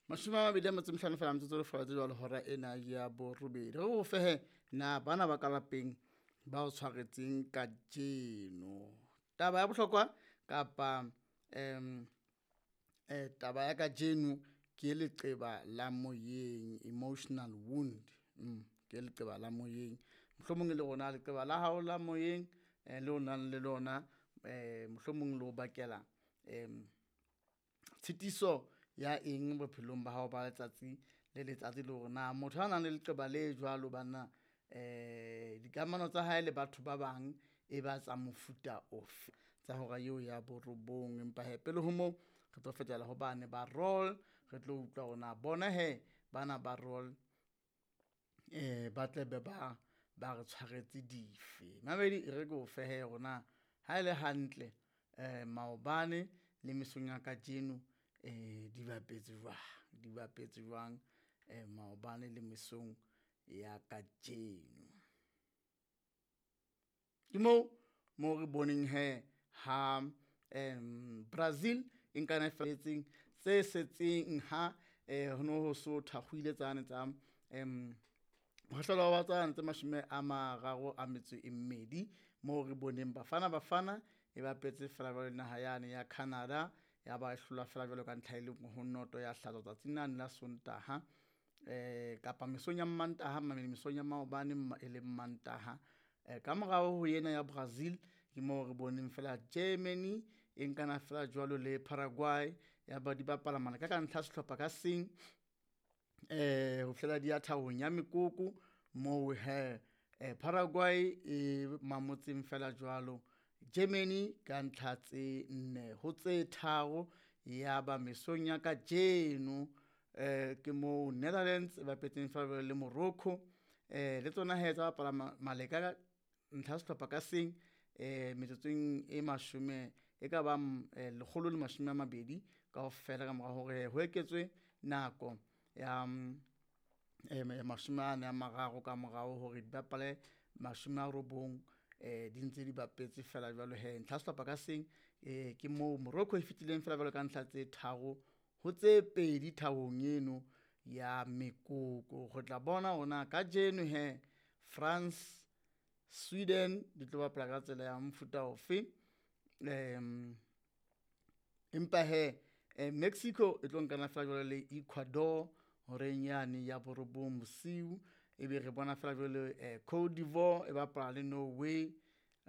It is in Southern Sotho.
25 fela metsotso le fela jwale hora ena ya borobedi. Re o fehe na bana ba ka lapeng ba o tshwaretseng kajeno. Taba ya bohlokwa kapa taba ya kajeno ke leqeba la moyeng, emotional wound. Ke leqeba la moyeng. Mohlomong le rona leqeba la hao la moyeng le o nang le lona, mohlomong le o bakela tshitiso ya eng bophelong ba hao ba letsatsi le letsatsi, le hore na motho a nang le leqeba le jwalo banna dikamano tsa hae le batho ba bang e ba tsa mofuta ofe. Tsa hora eo ya borobong, empa hee pele ho moo re tlo fetela ho bane ba roll, re tlo utlwa hore na bona hee bana ba roll ba tle be ba ba re tshwaretse dife. Mamedi e re ke o fe hee hore na ha ele hantle maobane le mesong ya kajeno di bapetse jwang, di bapetse jwang maobane le mesong ya kajeno. Ke moo mo re boneng hee ha Brazil e nkana felletseng tse setseng ha ho no ho so thakgohile tsane tsa mohahlelo wa tsane tse 32 moo re boneng Bafana Bafana e bapetse fela jwalo le naha yane ya Canada, ya ba hlola fela jwalo ka ntlha e le nngwe ho noto ya hlatswa tsatsing lane la Sontaha kapa mesong ya Mmantaha mesong ya maobane e leng Mantaha. Ka morao ho ena ya Brazil ke moo re boneng fela Germany e nkana fela jwalo le Paraguay, ya ba di bapala maleka ka ntlha sehlopha ka seng ho fihlela di ya thabong ya mekoko moo hee Paraguay e mamotseng fela jwalo Germany ka ntlha tse 4 ho tse 3. Ya ba mesong ya kajeno ke moo Netherlands e bapetseng fela jwalo le Morocco, le tsona hee tsa bapala maleka ka ntlha sehlopha ka seng metsotsong e mashome e ka bang 120 kaofela ka mora hore ho eketswe nako ya 43 ka morao hore di bapale 90 di ntse di bapetse fela jwalo hee ntlha sehlopha ka seng. Ke moo Morocco e fetileng fela jwalo ka ntlha tse 3 ho tse 2 thabong eno ya mekoko. Re tla bona hore na kajeno hee France, Sweden di tlo bapala ka tsela ya mofuta ofe. Empa hee Mexico e tlo nkana fela jwalo le Ecuador horeng yane ya 9 bosiu, ebe re bona fela jwale Cote d'Ivoire e bapala le Norway.